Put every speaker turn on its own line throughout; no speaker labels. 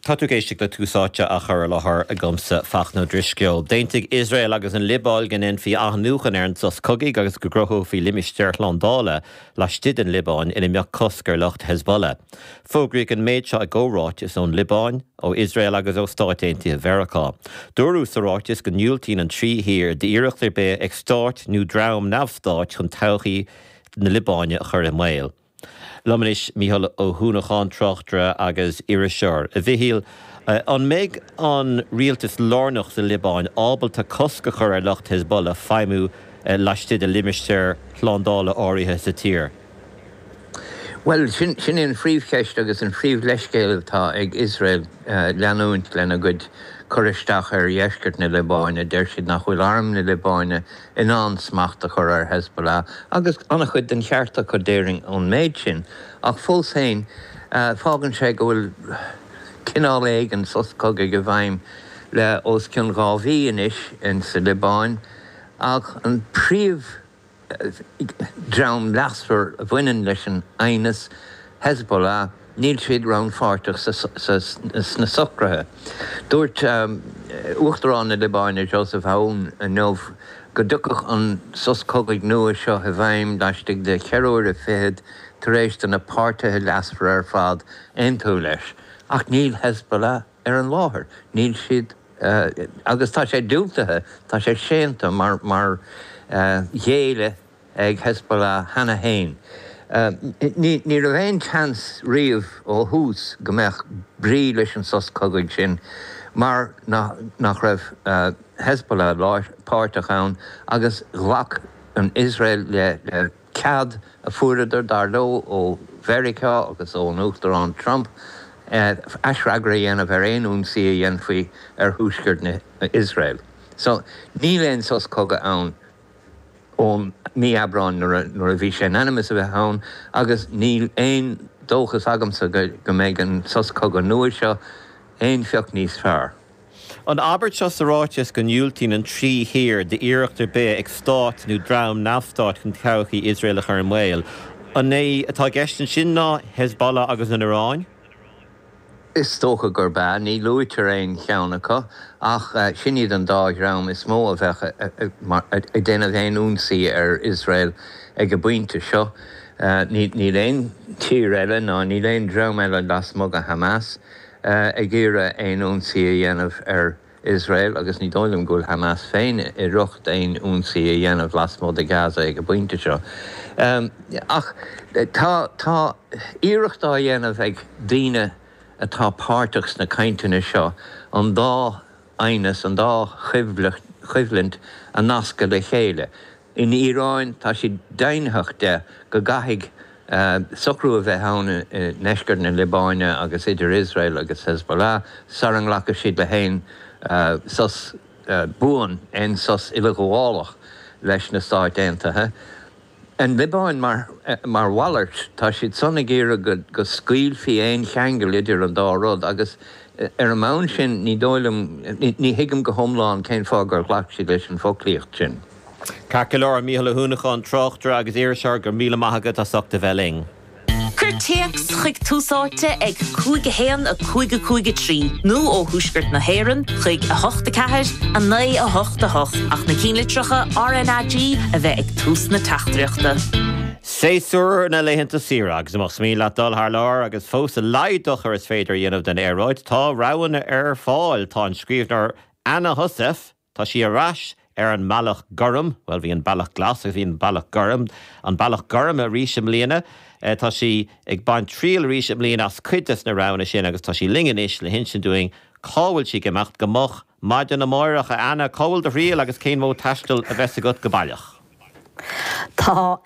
Tá tú ag éisteacht le Tús Áite á chur i láthair agamsa, Fachtna Ó Drisceoil. D'aontaigh Iosrael agus an Liobáin go ndéanfaí athnuachan ar an sos cogaidh agus go gcruthófaí limistéar slándála laistigh den Liobáin ina mbeadh cosc ar lucht Hezbollah. Fógraíodh an méid seo i gcomhráiteas ón Liobáin, ó Iosrael agus ó Stáit Aontaithe Mheiriceá. Dúradh sa ráiteas go ndiúltaíonn an trí thír d'iarracht ar bith ag stát nó dream neamhstáit chun todhchaí na Liobáine a chur i mbaol. Liom anois Mícheál Ó hUanacháin, tráchtaire agus iriseoir. A Mhichíl, an mbeidh an rialtas lárnach sa Liobáin ábalta cosc a chur ar lucht Hezbollah feidhmiú laistigh de limistéir shlándála áirithe sa tír?
Bhuel, sin í an phríomhcheist agus an phríomhleithscéal atá ag Iosrael leanúint lena gcuid cur isteach ar dheisceart na Liobáine. Deir siad nach bhfuil arm na Liobáine in ann smacht a chur ar Hezbollah, agus an-chuid den cheart acu, déarfainn, ón méid sin. Ach fós féin, fágann sé go bhfuil cineál éigin sos cogaidh i bhfeidhm le os cionn 2 mhí anois insa Liobáin, ach an príomh dream leasmhar a bhaineann leis an aighneas, Hezbollah, níl siad rannpháirteach sna socruithe. Dúirt Uachtarán na Liobáine Joseph Aoun inniu go dtiocfadh an sos cogaidh nua seo i bhfeidhm laistigh de cheithre huaire fichead tar éis do na páirtithe leasmhara ar fad aontú leis. Ach níl Hezbollah ar an láthair. Níl siad agus tá sé diúltaithe, tá sé séanta mar mar ghéilleadh ag Hezbollah cheana féin. Ní raibh aon tseans riamh ó thús go mbeadh brí leis an sos cogaidh sin mar nach raibh Hezbollah páirteach ann agus ghlac an Iosrael le cead a fuaireadar, dar leo, ó Mheiriceá agus ón Uachtarán Trump aisfhreagra a dhéanamh ar aon ionsaí a dhéanfaí ar thuaisceart na Iosrael. So, níl aon sos cogaidh ann ón mí Aibreáin nuair a bhí sé in ainm is a bheith ann agus níl aon dóchas agamsa go mbeidh an sos cogaidh nua seo aon phioc níos fearr.
An abairt seo sa ráiteas go ndiúltaíonn an trí thír d'iarracht ar bith ag stát nó dream neamhstáit chun todhchaí Iosrael a chur i mbaol, an é atá i gceist ansin ná Hezbollah agus an Iaráin?
Is dócha gurb ea. Ní luaitear aon cheann acu, ach sin iad an dá dhream is mó a bheadh ag déanamh aon ionsaí ar Iosrael ag an bpointe seo. Níl aon tír eile ná níl aon dream eile lasmuigh de Hamas ag iarraidh aon ionsaí a dhéanamh ar Iosrael agus ní dóigh liom go bhfuil Hamas féin i riocht aon ionsaí a dhéanamh lasmuigh de Gaza ag an bpointe seo. Ach tá tá iarracht á dhéanamh ag daoine atá páirteach sna cainteanna seo an dá aighneas, an dá choimhlint a nascadh le chéile. In Iaráin, tá siad deimhnitheach de go gcaithfidh socrú a bheith ann i ndeisceart na Liobáine agus idir Iosrael agus Hezbollah sara nglacfaidh siad le haon sos buan, aon sos uileghabhálach leis na Stáit Aontaithe. An Liobáin, mar mhalairt, tá siad san ag iarraidh go scaoilfí aon cheangal idir an dá rud agus ar an mbonn sin ní dóigh liom, ní thuigim go hiomlán cén fáth gur ghlac siad leis an bhfoclaíocht sin.
Ceart go leor, Mícheál Ó hUanacháin, tráchtaire agus iriseoir, go raibh míle maith agat as ucht a bheith linn.
Cuir téacs chuig Tús Áite ag 5 1 5 5 3 nó ó Thuaisceart na hÉireann chuig 8 4 9 8 8 ach na cinnlitreacha RnaG a bheith ag tús na teachtaireachta.
Séasúr na laethanta saoire agus más mian leat dul thar lear agus fós a laghad dochair is féidir a dhéanamh don aeráid, tá roghanna ar fáil. Tá an scríbhneoir Anna Heussaff, Tá sí ar ais ar an mBealach Gorm, bhuel bhí an Bealach Glas agus bhí an Bealach Gorm, an Bealach Gorm arís i mbliana. Tá sí ag baint triail arís i mbliana as cuid des na roghanna sin agus tá sí linn anois le hinsint dúinn cá bhfuil sí ag imeacht go moch maidin amáireach. A Anna, cá bhfuil do thriall agus cén modh taistil a bheas agat go baileach?
Tá,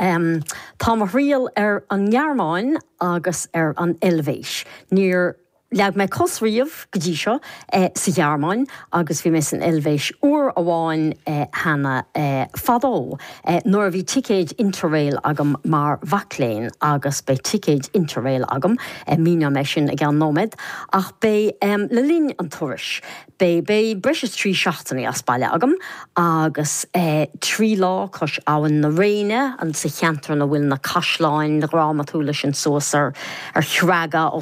tá mo thriall ar an nGearmáin agus ar an Eilvéis. Níor Leag mé cos riamh go dtí seo sa Ghearmáin agus bhí mé san Eilvéis uair amháin cheana fadó nuair a bhí ticéid Interrail agam mar mhac léinn agus beidh ticéid Interrail agam, míneoidh mé sin i gceann nóiméad, ach beidh le linn an turais. Beidh beidh breis is 3 seachtainí as baile agam agus 3 lá cois abhainn na Réine, sa cheantar ina bhfuil na caisleáin dhrámatúla sin suas ar ar chreaga.